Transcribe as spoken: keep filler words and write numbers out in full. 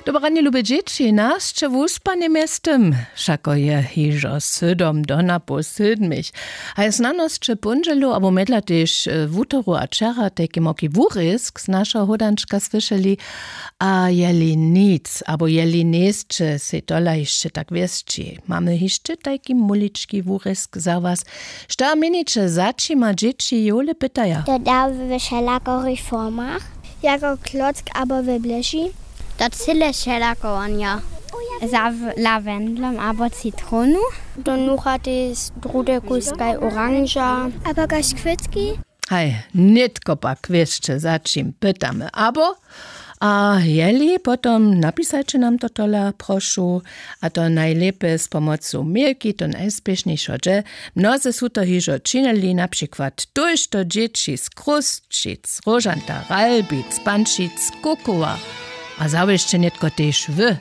Dobre ranje, lube dźěći, nasće wuspanje mjeztym, wšako je hižo sydom do napoł sydmich. A je znanosće póndźelu abo mjedla tež wutoru a wčera tajki moki wurězk z našeho hódančka słyšeli. A jeli nic abo jeli njejsće sej tola hišće tak wěsći, mamy hišće tajki mulički wurězk za was. Što měniće, za čima dźěći jowle pytaja? To da we wšelakich formach, jako klock abo we bleži. To cyle wšelako wonja, za w- lawendlom abo citronu. To nuchate z drude kuskaj oranža abo kaž kwětki. Haj, nětko pak wěsće, za čim pytamy abo. A jeli, potom napisajće nam to tola, prošu. A to najlěpje z pomocu mailki, to najspěšnjejšo dźe. Mnoze su to hižo činili, na přikład tójšto dźěći z Chrósćic, Róžanta, Ralbic, Pančic, Kukowa. A zawěsće nětko tež wy.